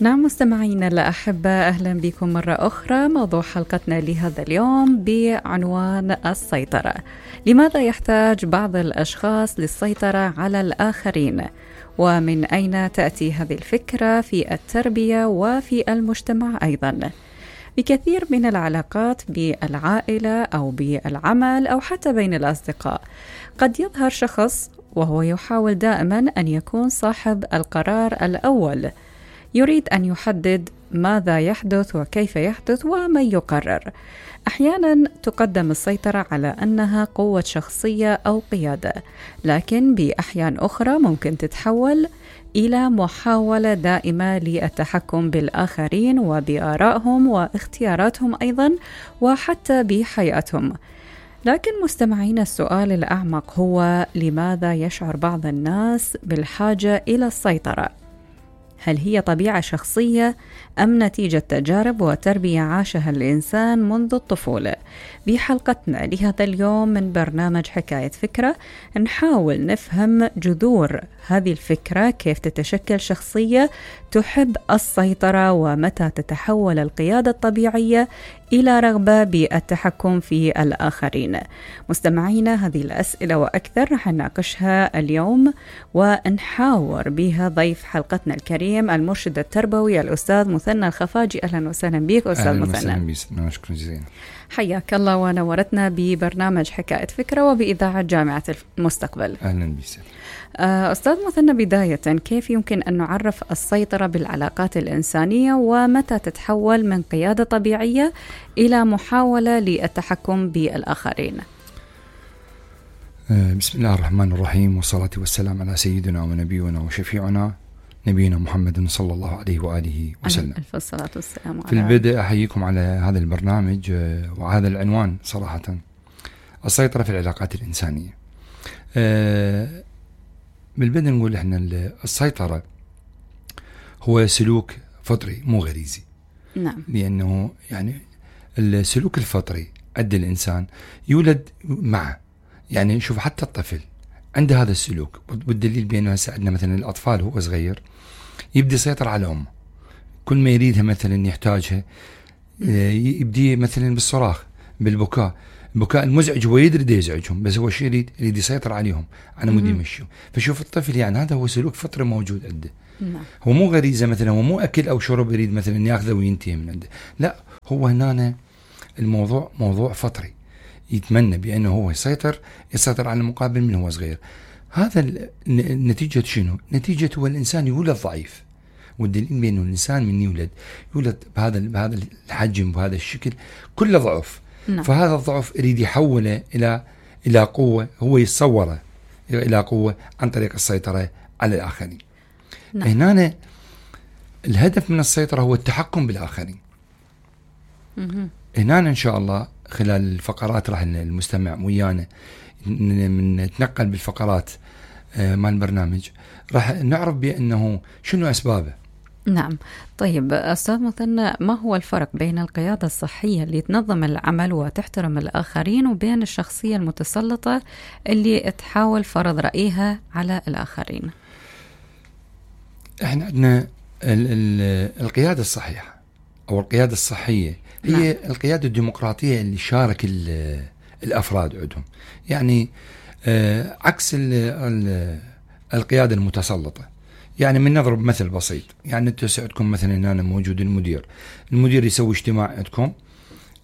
نعم مستمعينا الأحبة، أهلا بكم مرة أخرى. موضوع حلقتنا لهذا اليوم بعنوان السيطرة. لماذا يحتاج بعض الأشخاص للسيطرة على الآخرين؟ ومن أين تأتي هذه الفكرة في التربية وفي المجتمع أيضا؟ بكثير من العلاقات بالعائلة أو بالعمل أو حتى بين الأصدقاء قد يظهر شخص وهو يحاول دائما أن يكون صاحب القرار الأول، يريد أن يحدد ماذا يحدث وكيف يحدث ومن يقرر. أحيانا تقدم السيطرة على أنها قوة شخصية أو قيادة، لكن بأحيان أخرى ممكن تتحول إلى محاولة دائمة للتحكم بالآخرين وبآرائهم واختياراتهم أيضا وحتى بحياتهم. لكن مستمعين، السؤال الأعمق هو: لماذا يشعر بعض الناس بالحاجة إلى السيطرة؟ هل هي طبيعة شخصية أم نتيجة تجارب وتربية عاشها الإنسان منذ الطفولة؟ بحلقتنا لهذا اليوم من برنامج حكاية فكرة نحاول نفهم جذور هذه الفكرة، كيف تتشكل شخصية تحب السيطرة، ومتى تتحول القيادة الطبيعية إلى رغبة بالتحكم في الآخرين. مستمعينا، هذه الأسئلة وأكثر رح نناقشها اليوم ونحاور بها ضيف حلقتنا الكريم المرشد التربوي الأستاذ مثنى الخفاجي. أهلا وسهلا بك أستاذ مثنى. أهلا وسهلا، شكرا جزيلا. حياك الله ونورتنا ببرنامج حكاية فكرة وبإذاعة جامعة المستقبل. أهلا بك أستاذ مثنى، بداية كيف يمكن أن نعرف السيطرة بالعلاقات الإنسانية، ومتى تتحول من قيادة طبيعية إلى محاولة للتحكم بالآخرين؟ بسم الله الرحمن الرحيم، والصلاة والسلام على سيدنا ونبينا وشفيعنا نبينا محمد صلى الله عليه وآله وسلم. ألف الصلاة والسلام. في البدء أحييكم على هذا البرنامج وهذا العنوان صراحة: السيطرة في العلاقات الإنسانية. بالبدء نقول إحنا السيطرة هو سلوك فطري مو غريزي. نعم. لأنه يعني السلوك الفطري عند الإنسان يولد معه. يعني شوف، حتى الطفل عنده هذا السلوك، والدليل بأنه هسه عندنا مثلا الأطفال هو صغير يبدي يسيطر على أمه، كل ما يريدها مثلا يحتاجها يبدي مثلا بالصراخ، بالبكاء، البكاء المزعج هو يدري يزعجهم، بس هو شيء يريد يسيطر عليهم على مود يمشوا. فشوف الطفل، يعني هذا هو سلوك فطري موجود عنده. هو مو غريزة مثلا، هو مو أكل أو شرب يريد مثلا ياخذه وينتهي من عنده، لا، هو هنا الموضوع موضوع فطري، يتمنى بأنه هو يسيطر على المقابل من هو صغير. هذا نتيجة شنو؟ نتيجة هو الإنسان يولد ضعيف، والدليل بأنه الإنسان من يولد بهذا الحجم بهذا الشكل كله ضعف. فهذا الضعف يريد يحوله إلى قوة، هو يتصوره إلى قوة عن طريق السيطرة على الآخرين. هنا الهدف من السيطرة هو التحكم بالآخرين. هنا إن شاء الله خلال الفقرات راح المستمع ويانا نتنقل بالفقرات مع البرنامج، راح نعرف بأنه شنو أسبابه. نعم. طيب أستاذ مثنى، ما هو الفرق بين القيادة الصحية اللي تنظم العمل وتحترم الآخرين، وبين الشخصية المتسلطة اللي تحاول فرض رأيها على الآخرين؟ احنا عندنا القيادة الصحيحة أو القيادة الصحية هي القيادة الديمقراطية اللي شارك الأفراد عندهم، يعني عكس القيادة المتسلطة. يعني من نضرب مثل بسيط، يعني انتم عندكم مثلا هنا موجود المدير يسوي اجتماع عندكم،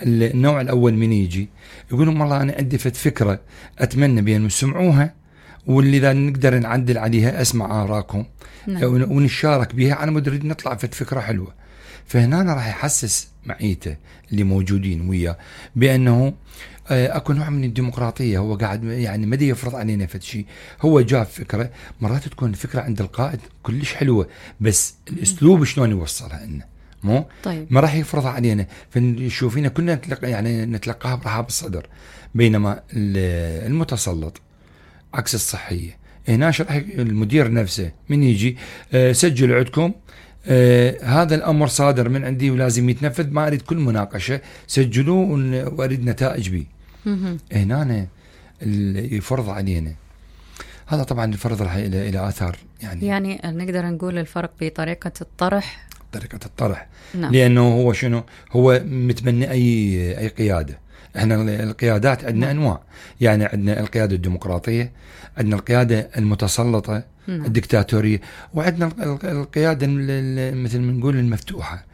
النوع الأول من يجي يقول لهم والله أنا عندي فكرة أتمنى بأن تسمعوها، واللي إذا نقدر نعدل عليها أسمع آراءكم ونشارك بها على مود نريد نطلع فكرة حلوة. فهنا أنا راح يحسس معيته اللي موجودين وياه بأنه أكو نوع من الديمقراطية، هو قاعد يعني ما يفرض علينا شيء، هو جاب فكرة. مرات تكون الفكرة عند القائد كلش حلوة، بس الأسلوب شلون يوصلها لنا مو طيب. ما راح يفرضها علينا، فنشوفينا كلنا نتلقاها برحاب الصدر. بينما المتسلط عكس الصحية، هنا شرح المدير نفسه من يجي سجل عندكم هذا الأمر صادر من عندي ولازم يتنفذ، ما أريد كل مناقشة، سجلوه وأريد نتائج به. هنا يفرض علينا هذا، طبعا الفرض راح إلى آثار. يعني نقدر نقول الفرق بطريقة الطرح طريقة الطرح. نعم. لأنه هو شنو هو متبني أي قيادة. احنا القيادات عندنا أنواع، يعني عندنا القيادة الديمقراطية، عندنا القيادة المتسلطة، الدكتاتورية، وعندنا القيادة مثل ما نقول المفتوحة،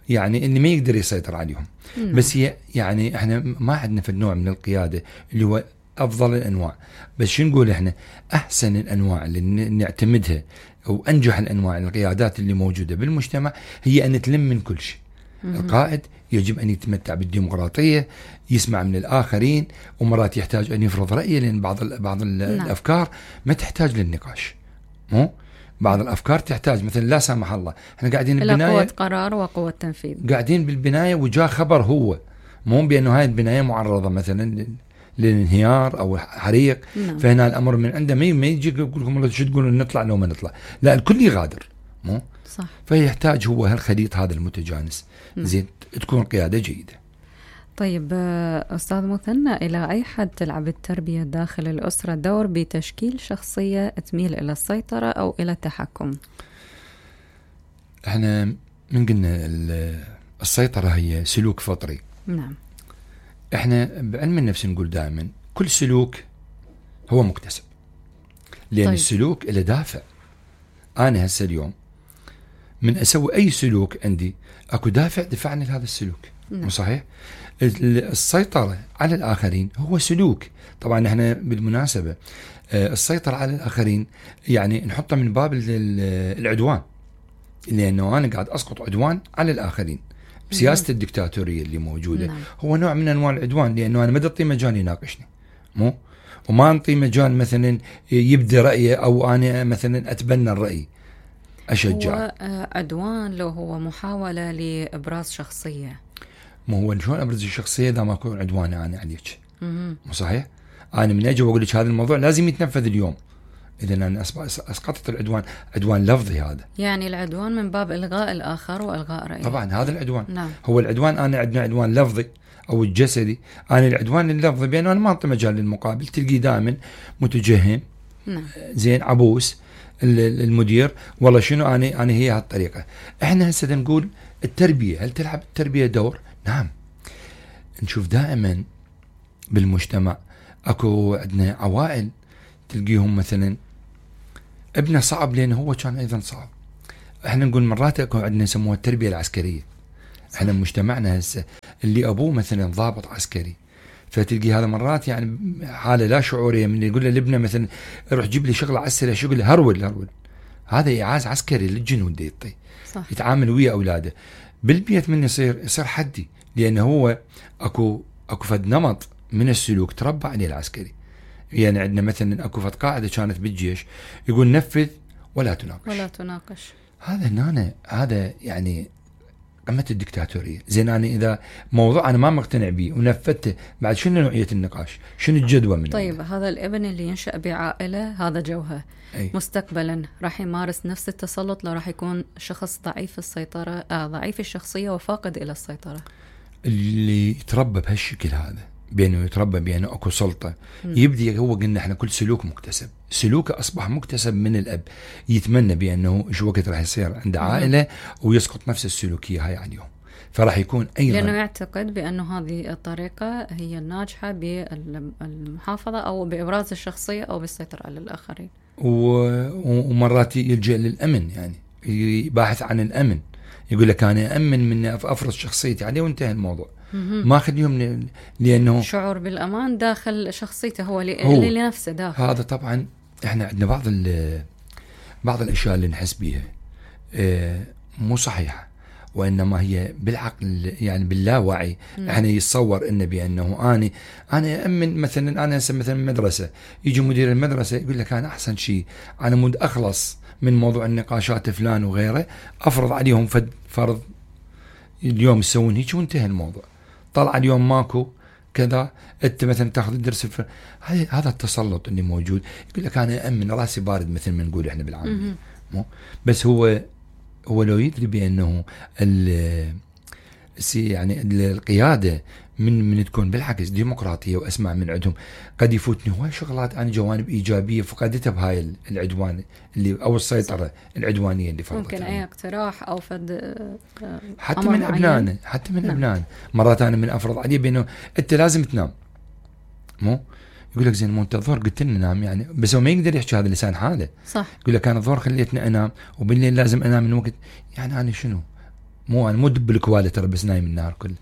يعني اللي ما يقدر يسيطر عليهم. بس هي يعني احنا ما عندنا في النوع من القيادة اللي هو أفضل الأنواع، بس شو نقول احنا أحسن الأنواع اللي نعتمدها أو أنجح الأنواع القيادات اللي موجودة بالمجتمع هي أن تلم من كل شيء. القائد يجب أن يتمتع بالديمقراطية، يسمع من الآخرين، ومرات يحتاج أن يفرض رأيه، لأن بعض الأفكار ما تحتاج للنقاش. مو بعض الأفكار تحتاج مثلا لا سامح الله احنا قاعدين بالبناية قوة قرار وقوة تنفيذ، قاعدين بالبناية وجاء خبر هو مو بأنه هاي البناية معرضة مثلا للانهيار أو حريق. فهنا الأمر من عنده ما يجي يقول لكم شو تقولون نطلع لو ما نطلع، لا الكل يغادر. مو صح. فيحتاج هو هالخليط هذا المتجانس. زين تكون قيادة جيدة. طيب أستاذ مثنى، إلى أي حد تلعب التربية داخل الأسرة دور بتشكيل شخصية تميل إلى السيطرة أو إلى التحكم؟ احنا من قلنا السيطرة هي سلوك فطري. نعم. احنا بعلم النفس نقول دائما كل سلوك هو مكتسب، لأن طيب. السلوك له دافع. أنا هسه اليوم من أسوي أي سلوك عندي أكو دفعني لهذا السلوك. مو صحيح؟ السيطرة على الآخرين هو سلوك. طبعا احنا بالمناسبة السيطرة على الآخرين يعني نحطه من باب العدوان، لأنه أنا قاعد أسقط عدوان على الآخرين. سياسة الدكتاتورية اللي موجودة هو نوع من أنواع العدوان، لأنه أنا ما أعطيه مجال يناقشني، مو وما أعطيه مجال مثلا يبدي رأيه، أو أنا مثلا أتبنى الرأي أشجع. هو عدوان لو هو محاولة لإبراز شخصية. ما هو شلون أبرز الشخصية إذا ما أكون عدوان أنا عليك؟ مو صحيح؟ أنا من أجي وأقول لك هذا الموضوع لازم يتنفذ اليوم، إذا أنا أسقطت العدوان. عدوان لفظي هذا، يعني العدوان من باب إلغاء الآخر وإلغاء رأيه. طبعا هذا العدوان. نعم. هو العدوان أنا عندنا عدوان لفظي أو الجسدي. أنا العدوان اللفظي بأنه أنا ما أعطي مجال للمقابل، تلقي دائما متجهم. نعم. زين عبوس المدير والله شنو أنا هي هالطريقة. إحنا هسه نقول التربية، هل تلعب التربية دور؟ نعم. نشوف دائما بالمجتمع اكو عندنا عوائل تلقيهم مثلا ابنه صعب لأنه هو كان أيضا صعب. احنا نقول مرات اكو عندنا يسموها التربية العسكرية. احنا مجتمعنا هسه اللي ابوه مثلا ضابط عسكري، فتلقي هذا مرات يعني حالة لا شعورية من اللي يقول له لابنه مثلا روح جيب لي شغلة عسكرية، شو يقول له هرول. هذا إعاز عسكري للجنود دي يطي. يتعامل ويا أولاده. بالبيت من يصير حدي، لأنه هو اكو فد نمط من السلوك تربى عليه العسكري. يعني عندنا مثلا اكو فد قاعدة كانت بالجيش يقول نفذ ولا تناقش. هذا يعني قمة الدكتاتورية. زين أنا إذا موضوع أنا ما مقتنع به ونفذته، بعد شنو نوعية النقاش؟ شنو الجدوى منه؟ طيب هذا الابن اللي ينشأ بعائلة هذا جوهر مستقبلا راح يمارس نفس التسلط لو راح يكون شخص ضعيف السيطرة، ضعيف الشخصية وفاقد إلى السيطرة. اللي يتربى بهالشكل هذا، بأنه يتربى بأنه أكو سلطة، يبدي هو قلنا احنا كل سلوك مكتسب. سلوكه أصبح مكتسب من الأب، يتمنى بأنه شو وقت راح يصير عنده عائلة ويسقط نفس السلوكية هاي عليهم، فراح يكون أيضا لأنه يعتقد بأنه هذه الطريقة هي الناجحة بالمحافظة أو بإبراز الشخصية أو بالسيطرة على الآخرين. ومرات يلجأ للأمن، يعني يباحث عن الأمن، يقول لك أنا أمن من أفرض شخصيتي عليه وانتهى الموضوع. ما خليهم لأنه شعور بالأمان داخل شخصيته هو لنفسه داخل. هذا طبعا احنا عندنا بعض الأشياء اللي نحس بيها مو صحيحة، وإنما هي بالعقل يعني باللاوعي. احنا يتصور إنه بأنه أنا أمن مثلا. أنا مثلا مدرسة، يجي مدير المدرسة يقول لك أنا أحسن شيء أنا مود أخلص من موضوع النقاشات فلان وغيره، أفرض عليهم فرض اليوم يسوون هيك وانتهى الموضوع. طلع اليوم ماكو كذا، انت مثلا تاخذ الدرس هذا التسلط اللي موجود. يقول لك انا امن راسي بارد مثل ما نقول احنا بالعاميه. بس هو لو يدري بانه يعني القياده من تكون بالعكس ديمقراطيه واسمع من عندهم، قد يفوتني هواي شغلات انا جوانب ايجابيه فقدتها بهاي العدوان اللي او السيطره العدوانيه اللي فرضتها. ممكن اي اقتراح او فد حتى من ابنائنا، حتى من ابنائنا مرات انا من افرض عليه بانه انت لازم تنام، مو يقول لك زين مو انت الظهر قلت لنا نام يعني، بس هو ما يقدر يحكي هذا لسان حاله. صح. يقول لك انا الظهر خليتني انام وبالليل لازم انام من وقت، يعني انا شنو؟ مو انا مو دب الكواله ترى بس نايم النهار كله.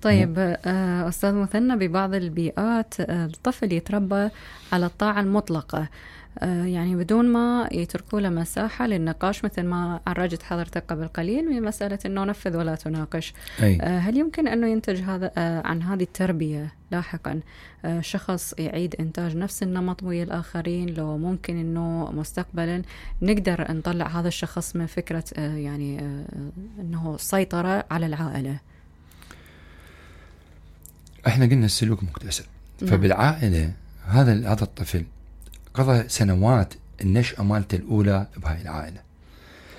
طيب أستاذ مثنى، ببعض البيئات الطفل يتربى على الطاعة المطلقة، يعني بدون ما يتركوا له مساحة للنقاش، مثل ما عرجت حضرتك قبل قليل من مسألة أنه نفذ ولا تناقش. هل يمكن أنه ينتج هذا عن هذه التربية لاحقا شخص يعيد إنتاج نفس النمط ويا الآخرين؟ لو ممكن أنه مستقبلا نقدر نطلع هذا الشخص من فكرة يعني أنه سيطرة على العائلة؟ احنا قلنا السلوك مكتسب. فبالعائلة هذا الطفل قضى سنوات النشأة مالته الأولى بهاي العائلة،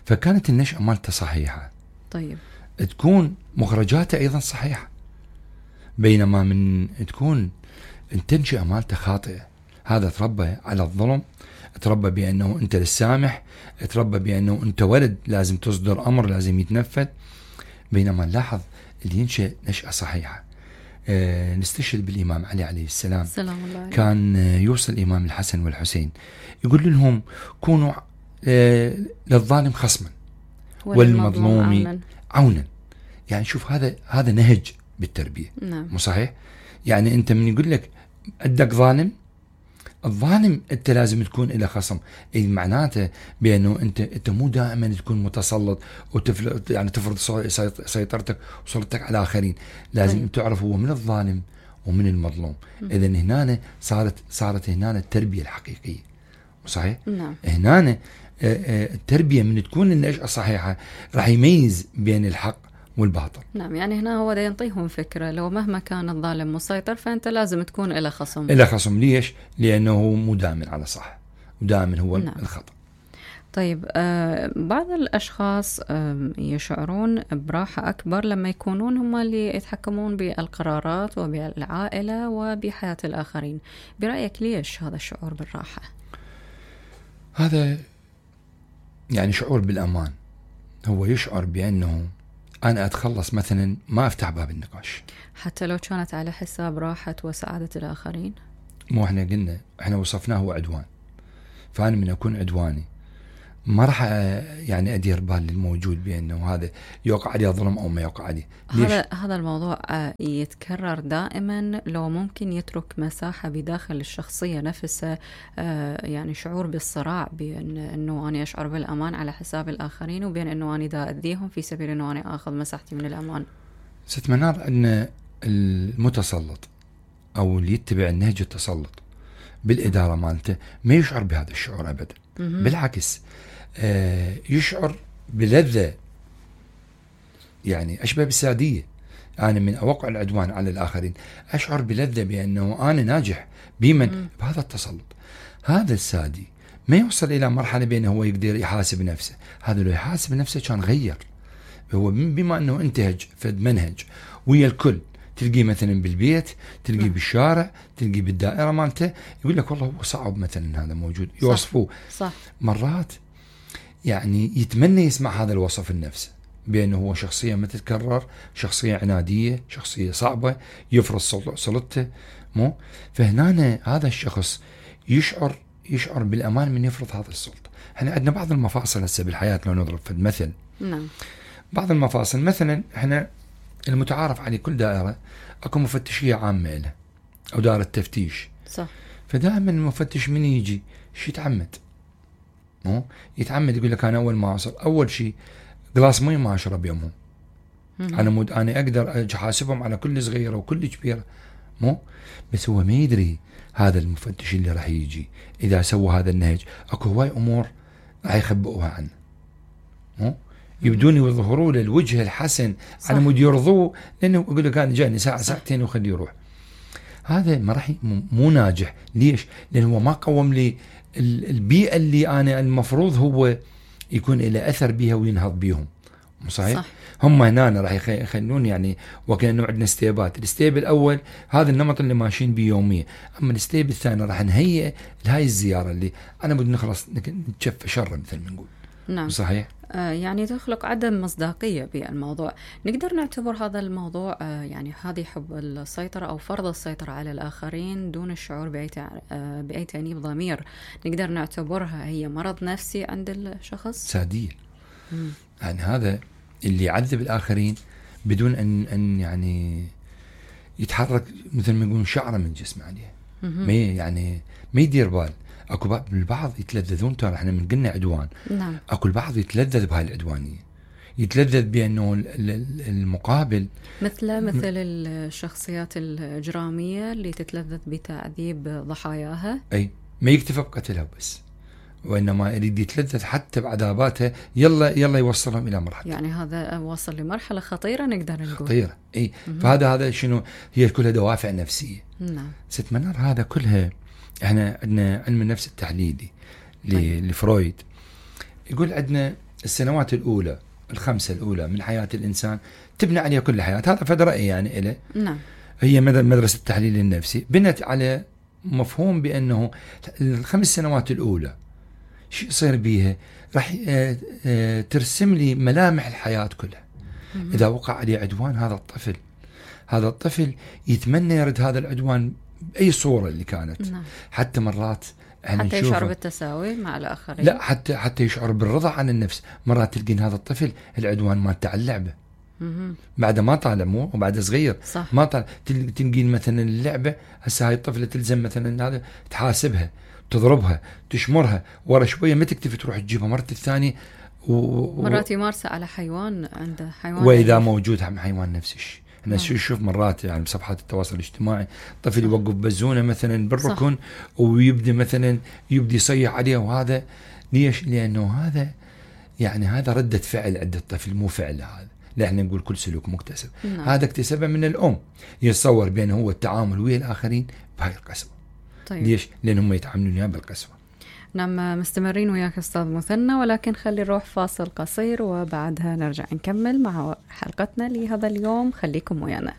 فكانت النشأة مالته صحيحة. طيب تكون مخرجاته أيضا صحيحة، بينما من تكون التنشئة مالته خاطئة. هذا تربى على الظلم، تربى بأنه أنت للسامح، تربى بأنه أنت ولد لازم تصدر أمر لازم يتنفذ. بينما نلاحظ اللي ينشأ نشأة صحيحة. نستشهد بالإمام علي عليه السلام، كان يوصل الإمام الحسن والحسين يقول لهم كونوا للظالم خصما والمظلوم عونا. يعني شوف هذا نهج بالتربية. مو صحيح؟ يعني أنت من يقول لك أدك ظالم، الظالم أنت لازم تكون إلى خصم، أي معناته بأنه أنت مو دائما تكون متسلط يعني تفرض سيطرتك وسلطتك على آخرين. لازم تعرف هو من الظالم ومن المظلوم. إذا هنا صارت هنا التربية الحقيقية. صحيح؟ نعم. هنا التربية من تكون النشأة صحيحة راح يميز بين الحق والباطل. نعم، يعني هنا هو دا ينطيهم فكرة لو مهما كان الظالم مسيطر فأنت لازم تكون إلى خصم. إلى خصم. ليش؟ لأنه مو دائما على صح ودائما هو نعم. الخطأ. طيب بعض الأشخاص يشعرون براحة أكبر لما يكونون هم اللي يتحكمون بالقرارات وبالعائلة وبحياة الآخرين. برأيك ليش هذا الشعور بالراحة؟ هذا يعني شعور بالأمان. هو يشعر بأنه أنا أتخلص مثلا ما أفتح باب النقاش حتى لو كانت على حساب راحة وسعادة الآخرين. مو احنا قلنا احنا وصفناه عدوان، فأنا من أكون عدواني ما راح يعني أدير بال للموجود بأنه هذا يوقع عليه ظلم أو ما يوقع عليه. هذا الموضوع يتكرر دائما. لو ممكن يترك مساحة بداخل الشخصية نفسها، يعني شعور بالصراع بين أنه أنا أشعر بالأمان على حساب الآخرين وبين أنه أنا دا أذيهم في سبيل أنه أنا أخذ مساحتي من الأمان. ست منار، أن المتسلط أو اللي يتبع النهج التسلط بالإدارة مالته ما يشعر بهذا الشعور أبدا. بالعكس يشعر بلذة، يعني أشبه بالسادية. أنا من أوقع العدوان على الآخرين أشعر بلذة بأنه أنا ناجح بمن بهذا التسلط. هذا السادي ما يوصل إلى مرحلة بأنه هو يقدر يحاسب نفسه. هذا لو يحاسب نفسه كان غير. هو بما أنه انتهج فد منهج ويا الكل، تلقيه مثلا بالبيت، تلقيه بالشارع، تلقيه بالدائرة مالته، يقول لك والله هو صعب مثلا هذا موجود، يوصفوه. صح. مرات يعني يتمنى يسمع هذا الوصف النفس بأنه هو شخصية ما تتكرر، شخصية عنادية، شخصية صعبة، يفرض سلطته. مو فهنا هذا الشخص يشعر بالأمان من يفرض هذا السلطة. احنا عندنا بعض المفاصل هسه بالحياة، لو نضرب في المثل. نعم. بعض المفاصل مثلا احنا المتعارف عليه كل دائرة اكو مفتشية عامة له او دائرة تفتيش. صح. فدائما المفتش من يجي شي يتعمد يقول لك انا اول ما اوصل اول شيء قلاص مي ما اشرب يومهم. انا اقدر احاسبهم على كل صغيره وكل كبيره. بس هو ما يدري هذا المفتش اللي راح يجي اذا سوى هذا النهج اكو هواي امور راح يخبئوها عنه. يبدون يظهروا له الوجه الحسن على مود يرضوه، لانه يقول لك انا جاني ساعه ساعتين وخليه يروح. هذا ما راح مو ناجح. ليش؟ لانه هو ما قوم لي البيئه اللي انا المفروض هو يكون له اثر بها وينهض بيهم. صحيح؟ صح. هم هنا راح يخلون يعني وكأنه عندنا ستيبات. الستيب الأول هذا النمط اللي ماشيين بيه يوميا، أما الستيب الثاني راح نهيئ لهاي الزيارة اللي أنا بدي نخلص نتشفى شر مثل ما نقول. نعم. صحيح. يعني تخلق عدم مصداقية بالموضوع. نقدر نعتبر هذا الموضوع يعني هذه حب السيطرة أو فرض السيطرة على الآخرين دون الشعور بأي تأنيب ضمير، نقدر نعتبرها هي مرض نفسي عند الشخص؟ سادية. يعني هذا اللي يعذب الآخرين بدون أن يعني يتحرك مثل ما يقولون شعره من جسمه عليه. ما يعني ما يدير بال. اكو البعض يتلذذون، ترى احنا من قلنا عدوان. نعم. اكو البعض يتلذذ بهاي العدوانية، يتلذذ بأنه المقابل مثل الشخصيات الإجرامية اللي تتلذذ بتعذيب ضحاياها. أي ما يكتفى بقتلها بس، وإنما يريد يتلذذ حتى بعذاباتها. يلا يوصلهم إلى مرحلة، يعني هذا وصل لمرحلة خطيرة نقدر نقول. خطيرة. أي فهذا شنو هي؟ كلها دوافع نفسية. نعم. ست منار هذا كلها. احنا عندنا علم النفس التحليلي لفرويد يقول عندنا السنوات الأولى 5 الأولى من حياة الإنسان تبنى عليها كل الحياة. هذا فد رأي يعني إله. نعم. هي مدرسة التحليل النفسي بنت على مفهوم بأنه 5 سنوات الأولى شو يصير بيها؟ راح ترسم لي ملامح الحياة كلها. إذا وقع عليه عدوان هذا الطفل يتمنى يرد هذا العدوان بأي صورة اللي كانت. نعم. حتى مرات حتى يشعر بالتساوي مع الآخرين. لا، حتى يشعر بالرضا عن النفس. مرات تلقين هذا الطفل العدوان ما تاع اللعبة بعد ما طالع، مو وبعد صغير. صح. ما طالع تلقين مثلا اللعبة هسه هاي الطفلة تلزم مثلا هذا تحاسبها، تضربها، تشمرها، ورا شوية ما تكتفي تروح تجيبها مرة الثانية مرات يمارسها على حيوان، عنده حيوان، وإذا موجود حيوان نفس الشيء. أنا شوف مرات يعني بصفحات التواصل الاجتماعي طفل يوقف بزونة مثلا بالركن ويبدأ مثلا يصيح عليه. وهذا ليش؟ لأنه هذا يعني هذا ردة فعل عند الطفل، مو فعل. هذا لا، احنا نقول كل سلوك مكتسب. هذا اكتسبه من الأم. يتصور بأنه هو التعامل ويا الآخرين بهاي القسوة. طيب. ليش؟ لأنهم يتعاملون بالقسوة. نعم، مستمرين وياك أستاذ مثنى، ولكن خلي نروح فاصل قصير وبعدها نرجع نكمل مع حلقتنا لهذا اليوم. خليكم ويانا.